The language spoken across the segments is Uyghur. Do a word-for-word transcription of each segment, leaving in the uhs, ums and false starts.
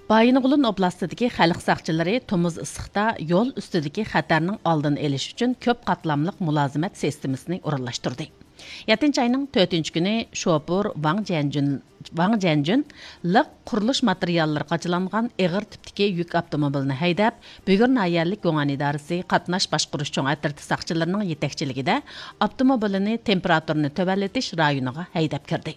بايىنغولىن ئوبلاستىدىكى خەلق ساقچىلىرى تومۇز ئىسسىقتا يول ئۈستىدىكى خەتەرنىڭ ئالدىنى ئېلىش ئۈچۈن كۆپ قاتلاملىق مۇلازىمەت سىستېمىسىنى ئورۇنلاشتۇردى. يەتتىنچى ئاينىڭ تۆتىنچى كۈنى شوپۇر ۋاڭ جيەنجۈن، ۋاڭ جيەنجۈن لىق قۇرۇلۇش ماتېرىياللىرى قاچىلانغان ئېغىر تىپتىكى يۈك ئاپتوموبىلىنى ھەيدەپ، بۈگۈر ناھىيەلىك گۇڭئەن ئىدارىسى قاتناش باشقۇرۇش چوڭ ئەترىتى ساقچىلىرىنىڭ يېتەكچىلىكىدە ئاپتوموبىلىنى تېمپېراتۇرىنى تۆۋەنلىتىش رايونىغا ھەيدەپ كىردى.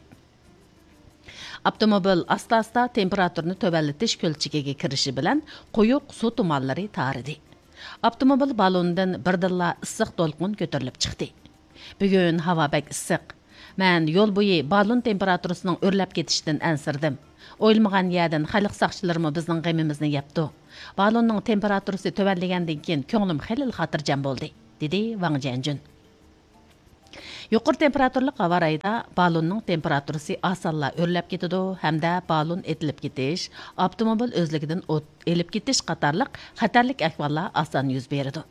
ئاپتوموبىل ئاستا-ئاستا تېمپېراتۇرىنى تۆۋەنلىتىش كۆلچىكىگە كىرىشى بىلەن قويۇق سۇ تۇمانلىرى تارىدى. ئاپتوموبىل بالونىدىن بىردىنلا ئىسسىق دولقۇن كۆتۈرۈلۈپ چىقتى. بۈگۈن ھاۋا بەك ئىسسىق. مەن يول بويى بالون تېمپېراتۇرىسىنىڭ ئۆرلەپ كېتىشىدىن ئەنسىرىدىم. ئويلىمىغان يەردىن خەلق ساقچىلىرىمۇ بىزنىڭ غېمىمىزنى يەپتۇ. بالوننىڭ تېمپېراتۇرىسى تۆۋەنلىگەندىن كېيىن كۆڭلۈم خېلىلا خاتىرجەم بولدى، دېدى ۋاڭ جيەنجۈن. يۇقىرى تېمپېراتۇرلۇق ھاۋا رايىدا بالوننىڭ تېمپېراتۇرىسى ئاسانلا ئۆرلەپ كېتىدۇ ھەمدە بالون ئېتىلىپ كېتىش، ئاپتوموبىل ئۆزلۈكىدىن ئوت ئېلىپ كېتىش قاتارلىق خەتەرلىك ئەھۋاللار ئاسان يۈز بېرىدۇ.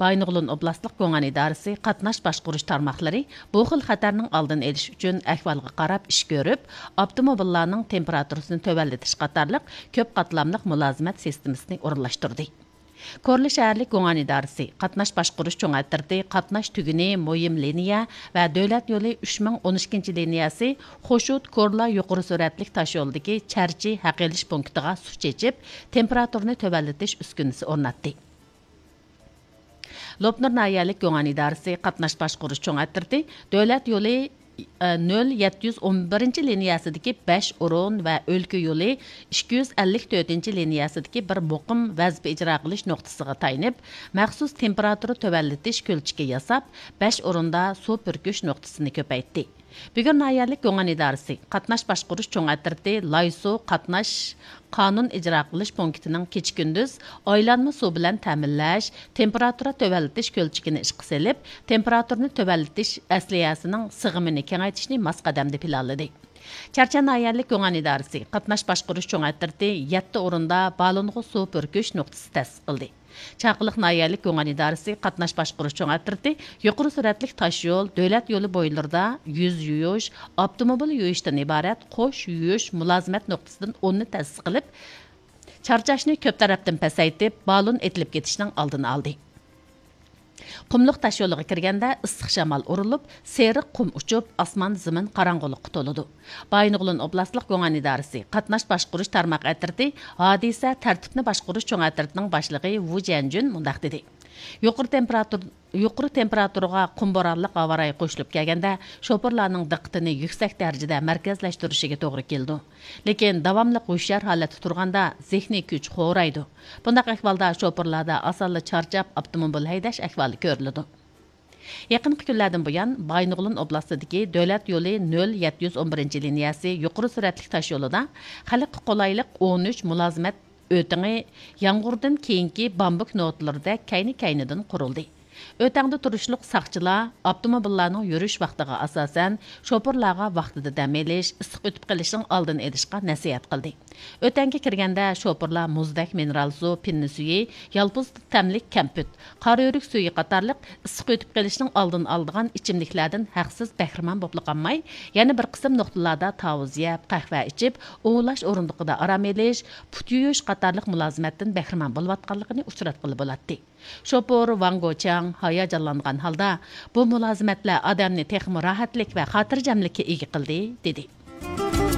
بايىنغولىن ئوبلاستلىق گۇڭئەن ئىدارىسى قاتناش باشقۇرۇش تارماقلىرى بۇ خىل خەتەرنىڭ ئالدىنى ئېلىش ئۈچۈن ئەھۋالغا قاراپ ئىش كۆرۈپ، ئاپتوموبىللارنىڭ تېمپېراتۇرىسىنى تۆۋەنلىتىش قاتارلىق كۆپ قاتلاملىق مۇلازىمەت سىستېمىسىنى ئورۇنلاشتۇردى. كورلا شەھەرلىك گۇڭئەن ئىدارىسى قاتناش باشقۇرۇش چوڭ ئەترىتى قاتناش تۈگۈنى مۇھىم لىنىيە ۋە دۆلەت يولى ئۈچ مىڭ ئون ئىككىنچى لىنىيەسى خوشۇت كورلا يۇقىرى سۈرئەتلىك تاشيولىدىكى چەرچى ھەق ئېلىش پونكىتىغا سۇ چېچىپ، تېمپېراتۇرىنى تۆۋەنلىتىش ئۈسكۈنىسى ئورناتتى. لوپنۇر ناھىيەلىك گۇڭئەن ئىدارىسى قاتناش باشقۇرۇش چوڭ ئەترىتى دۆلەت يولى نۆل يەتتە يۈز ئون بىرىنچى لىنىيەسىدىكى بەش ئورۇن ۋە ئۆلكە يولى ئىككى يۈز ئەللىك تۆتىنچى لىنىيەسىدىكى بىر مۇقىم ۋەزىپە ئىجرا قىلىش نۇقتىسىغا تايىنىپ، مەخسۇس تېمپېراتۇرا تۆۋەنلىتىش كۆلچىكى ياساپ، بەش ئورۇندا سۇ پۈركۈش نۇقتىسىنى كۆپەيتتى. بۈگۈر ناھىيەلىك گۇڭئەن ئىدارىسى قاتناش باشقۇرۇش چوڭ ئەترىتى لايسۇ قاتناش قانۇن ئىجرا قىلىش پونكىتىنىڭ كېچە-كۈندۈز ئايلانما سۇ بىلەن تەمىنلەش، تېمپېراتۇرا تۆۋەنلىتىش كۆلچىكىنى ئىشقا سېلىپ، تېمپېراتۇرىنى تۆۋەنلىتىش ئەسلىھەسىنىڭ سىغىمىنى كېڭەيتىشنى ماس قەدەمدە پىلانلىدى. چەرچەن ناھىيەلىك گۇڭئەن ئىدارىسى قاتناش باشقۇرۇش چوڭ ئەترىتى يەتتە ئورۇندا بالونغا سۇ پۈركۈش نۇقتىسى تەسىس قىلدى. چاقىلىق ناھىيەلىك گۇڭئەن ئىدارىسى قاتناش باشقۇرۇش چوڭ ئەترىتى يۇقىرى سۈرئەتلىك تاشيول، دۆلەت يولى بويلىرىدا يۈز يۇيۇش، ئاپتوموبىل يۇيۇشتىن ئىبارەت قوش يۇيۇش مۇلازىمەت نۇقتىسىدىن ئوننى تەسىس قىلىپ، چارچاشنى كۆپ تەرەپتىن پەسەيتىپ، بالون ئېتىلىپ كېتىشنىڭ ئالدىنى ئالدى. قۇملۇق تاشيولىغا كىرگەندە ئىسسىق شامال ئۇرۇلۇپ، سېرىق قۇم ئۇچۇپ، ئاسمان زېمىن قاراڭغۇلۇققا تولىدۇ. بايىنغولىن ئوبلاستلىق گۇڭئەن ئىدارىسى قاتناش باشقۇرۇش تارماق ئەترىتى ھادىسە تەرتىپنى باشقۇرۇش چوڭ ئەترىتىنىڭ باشلىقى ۋۇ جيەنجۈن مۇنداق دېدى: يۇقىرى تېمپېراتۇر، يۇقىرى تېمپېراتۇرىغا قۇم بورانلىق ھاۋا رايى قوشۇلۇپ كەلگەندە، شوپۇرلارنىڭ دىققىتىنى يۈكسەك دەرىجىدە مەركەزلەشتۈرۈشىگە توغرا كېلىدۇ. لېكىن داۋاملىق ھوشيار ھالەتتە تۇرغاندا، زېھنىي كۈچ خورايدۇ. بۇنداق ئەھۋالدا شوپۇرلاردا ئاسانلا چارچاپ، ئاپتوموبىل ھەيدەش ئەھۋالى كۆرۈلىدۇ. يېقىنقى كۈنلەردىن بۇيان، بايىنغولىن ئوبلاستىدىكى دۆلەت يولى نۆل يەتتە يۈز ئون بىرىنچى لىنىيەسى يۇقىرى سۈرئەتلىك تاشيولىدا خەلققە قولايلىق ئون ئۈچ مۇلازىمەت ئۆتىڭى يامغۇردىن كېيىنكى بامبۇك نوتىلىرىدەك كەينى-كەينىدىن قۇرۇلدى. ئۆتەڭدە تۇرۇشلۇق ساقچىلار ئاپتوموبىللارنىڭ يۈرۈش ۋاقتىغا ئاساسەن، شوپۇرلارغا ۋاقتىدا دەم ئېلىش، ئىسسىق ئۆتۈپ قېلىشنىڭ ئالدىنى ئېلىشقا نەسىھەت قىلدى. ئۆتەڭگە كىرگەندە، شوپۇرلار مۇزدەك مىنېرال سۇ، پىننە سۈيى، يالپۇز تەملىك كەمپۈت، قارىئۆرۈك سۈيى قاتارلىق ئىسسىق ئۆتۈپ قېلىشنىڭ ئالدىنى ئالىدىغان ئىچىملىكلەردىن ھەقسىز بەھرىمەن بولۇپلا قالماي، يەنە بىر قىسىم نۇقتىلاردا تاۋۇز يەپ، قەھۋە ئىچىپ، ئۇۋىلاش ئورۇندۇقىدا ئارام ئېلىش، پۇت يۇيۇش قاتارلىق مۇلازىمەتتىن بەھرىمەن بولۇۋاتقانلىقىنى ئۇچراتقىلى بولاتتى. شوپۇر ۋاڭ گوچياڭ ھاياجانلانغان ھالدا، بۇ مۇلازىمەتلەر ئادەمنى تېخىمۇ راھەتلىك ۋە خاتىرجەملىككە ئىگە قىلدى، دېدى.